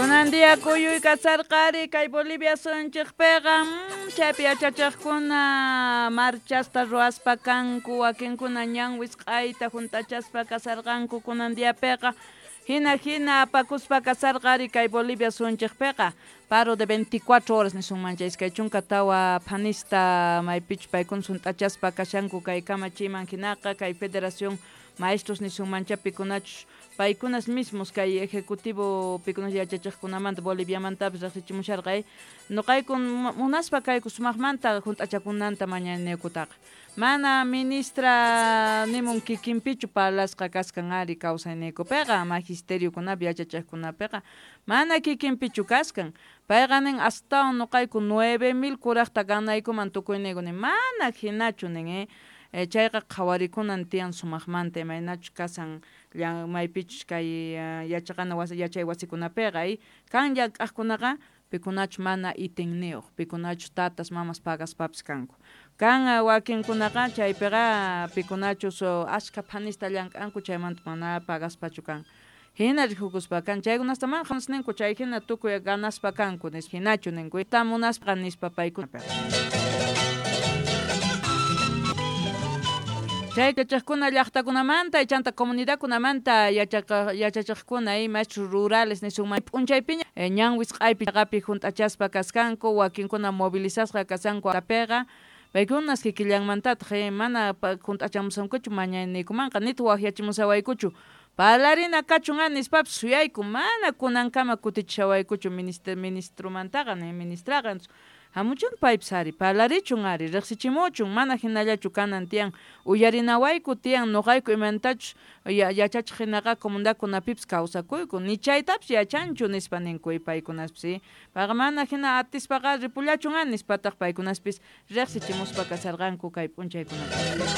Kunan día kuyuy kasarqari kay Bolivia suyunchikpiqa chaypi yachachiqkuna marchasta ruwaspa kanku wakinkuna ñan wisq'ayta hunt'achaspa kasarqanku kunan diapiqa hina hina apakuspa kasarqari kay Bolivia suyunchikpiqa paro de 24 horas nisunman chay 24 phanista maypichu paykuna hunt'achaspa kashanku kay kamachiman hinaqa kay Federación Maestros nisunmancha pikunachus paykunas mismos kay ejecutivo pikunas yachachiqkunamanta Boliviamantapis riqsichimusharqay nuqayku munaspa kayku sumaqmanta hunt'achakunanta mañanaykutaqa mana ministra nimun kikinpichu parlasqa kaskan ari kawsayniykupiqa magisteriokunapi yachachiqkunapiqa mana kikinpichu kaskan payqa nin astawan nuqayku 9000 kuraqta ganaykuman tukuyniyku nin mana hinachu nin chayqa qhawarikunan tiyan sumaqmanta imaynachu kasan maypichus kay yachaqana wasi yachay wasikunapiqa kan llank'aqkunaqa pikunachu mana itinniyuq pikunachu tatas mamas pagaspapis kanku kan wakinkunaqa chaypiqa pikunachus ashka phanista llank'anku chaymanta mana pagaspachu kan hina rikukuspa kan chaykunasta mana ninku chay hina tukuy ganaspa kanku nispa hinachu ninku munaspa nispa paykunapiqa. Chay yachachiqkuna llaqtakunamanta chanta comunidadkunamanta yachachiqkuna maestros rurales nisunman p'unchaypiña ñan wisq'aypi chaqapi hunt'achaspa kaskanku wakinkuna movilizasqa kashanku apiqa paykunas kikillanmantataq mana hunt'achamusankuchu mañaniykumanqa nitaq waqyachimusawaykuchu parlarina kachun nispapis suyayku mana kunankama kutichishawaykuchu ministromantaqa ni ministraqa hamuchun paypis ari parlarichun ari riqsichimuchun mana hinallachu kanan tiyan uyarinawayku tiyan nuqayku imantachus yachachiq hinaqa comunidadkunapipis kawsakuyku ni chaytapis yachanchu nispa ninku paykunaspis payqa mana hina atispaqa ripullachun nispataq paykunaspis riqsichimuspa kasarqanku kay p'unchaykunapi.